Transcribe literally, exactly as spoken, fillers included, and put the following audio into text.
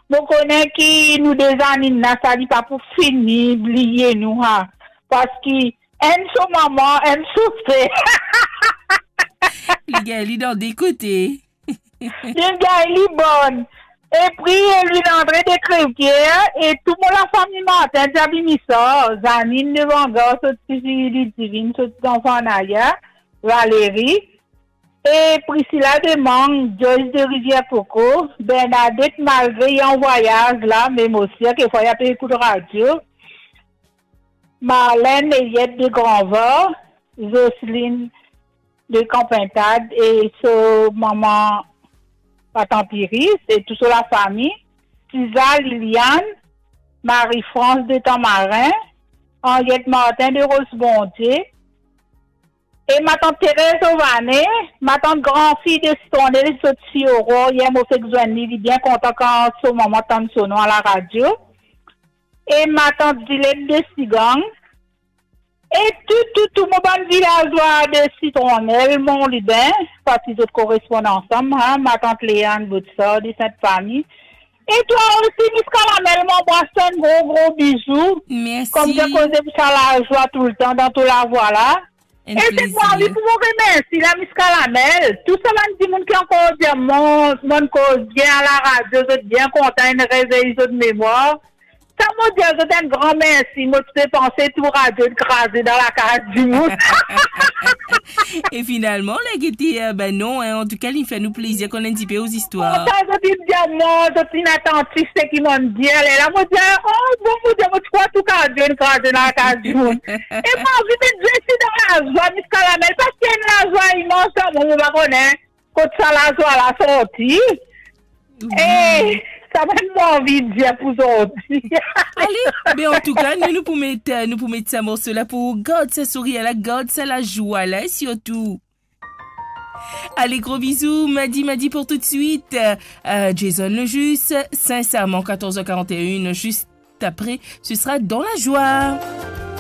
Mo kone ki nou de Zaninn la, sa li pa pou fini bliye nou, ha. Parski enn so mama, enn so ser. Li gagn li dan de kote. Li gagn li bonn. E pri Elwin Andre de Crevière, e tou mo lafami Martin Diabimisa, Zaninn Levangar, sot tifi Lidivinn, sot zanfan Naya, Valérie, e Priscilla de Mang, Joyce de Rivière-Coco, Bernadette malgre li an vwayaz la, me mo sir kekfwa li pe ekout radio, Marlène Eliette de Granvor, Jocelyne de Kanpintad e so mama Matant Iris e tou so lafami, Tiza, Liliane, Marie-France de Tamarin, Henriette Martin de Rosebondieu, e matant Thérèse Ovane, matant granfi de Sitronel, sot tifi Aurore, yer mo fek zwenn li, li bien kontan kan so mama tann so nom a laradio, e matant Dilette de Sigang, e tou, tou, tou mo bann vilazwa de Sitronel, Monlibin, parski zot korespond ansam, ha, matant Léane Boutsard de Sint-Fami. E twa osi, Miss Kalamel, mo anbras twa, enn gro, gro bizou. Mersi. Kouma dir, koze pou sa lazwa toultan dan tou lavwa la. Enn plezir. E se pou anvi pou mo remersi la, Miss Kalamel, tou sa bann dimoun ki ankor dir mwa, mo koz bien a laradio, zot bien kontan, inn revey zot memwar. Sa mo dir zot enn gran mersi, mo ti pe panse tou radio inn kraze dan lakaz dimoun. E finalman, la gete, eh, ben non, hein, antouka, li fer nou plezir konn enn tipe ou zistwar. Bon, sa zot inn dir mwa, zot inn atantif seki mo'nn dir, lerla mo dir, oh, bon, mo dir, mo ti krwar tou radio inn kraze dan lakaz dimoun. E mo anvi met zot dan lazwa, Miss Kalamel, parski enn lazwa imans dan mwa, mo pa kone kot sa lazwa la sorti. Wi. E sa mem mo anvi dir pou zot. Ale, be antouka, nou, nou pou met, nou pou met sa morso la pou gard sa sourir la, gard sa lazwa la, e sirtou. Ale, gro bizou, Madi Madi pou toutswit. Euh, Jason Lejus, Sincèrement, quatorze heures quarante et une, juste après, ce sera Dans la joie.